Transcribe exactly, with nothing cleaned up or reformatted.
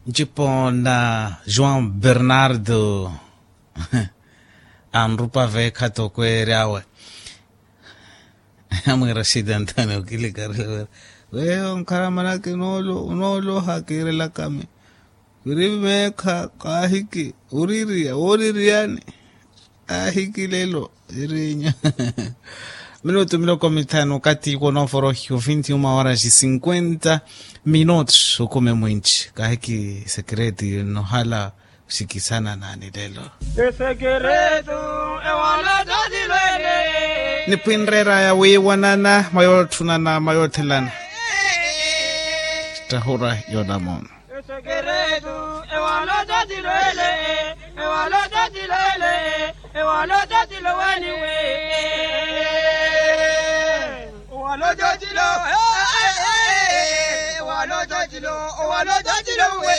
Ncipo na joão bernardo anrupa veekha tokweerya awe. Amwiira shida ntani okilikarela wira weyo nkhala manaki. Onooloha kiirelakami wiri meekha kaahiki oririya wooririyani. Aahiki lelo irinya minutu miloko mithanu okati kwonooforohi ofinthi uma horas cinquenta minutos okumi mwinci kaahiki sekereti nohala. Osikisana nani lelo esekeretu ewala totilo ele. Nipwinreeraya wiiwanana mwa yootthunana mwa yoothelana. Ttahura yoonamoona esekeretu ewala totilo ele. Ewala totilo ele. Ewala totilo weniwe. Owala totilo. Ewala totilo. Owala totilo we.